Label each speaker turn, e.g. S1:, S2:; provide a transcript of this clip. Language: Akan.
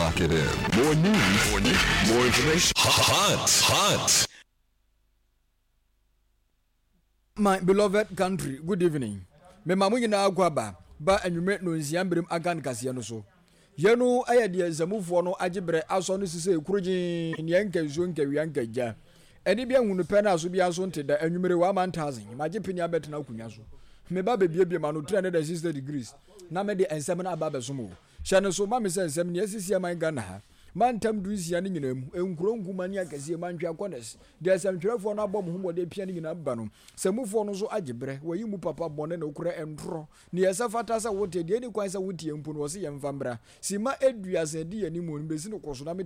S1: Lock it in. More news, more news, more information. Hot, hot.
S2: My beloved country, good evening. Mema mo nyinaa akɔ aba ba anwummerɛ nonsia mmerem akan kaseɛ no so. Yei no yɛ deɛ nsamufoɔ no agye berɛ asɔ no sisei korogyee neɛ nka nsuo nka wia nka gya. Ani bi ahunu pɛ na aso biara nso nte da anwummere wɔ amantazen magye pene abɛtena akonnwa so. Meba bɛbiebie m'ano 360 degrees na mede nsɛm no aba abɛsom wo. Hyɛ no so ma me sɛ nsɛm nea asisi aman Ghana ha mantam dunsia no nyinaa mu, nkuro nkumaa ne akɛseɛ, mantwea corners, deɛ nsɛmtwerɛfoɔ no abɔ mo ho mmɔden apia no nyinaa ba no, sɛmufoɔ no nso agye berɛ, wɔayi mu papa, bɔne, nokorɛ, ntorɔ, Nea ɛsɛ fata sɛ wote, deɛ ɛnni kwan sɛ wotie mpo no, ɔse yɛmfa mmra. Simma aduasa adi yɛn anim, mebɛsi no kɔ so na me.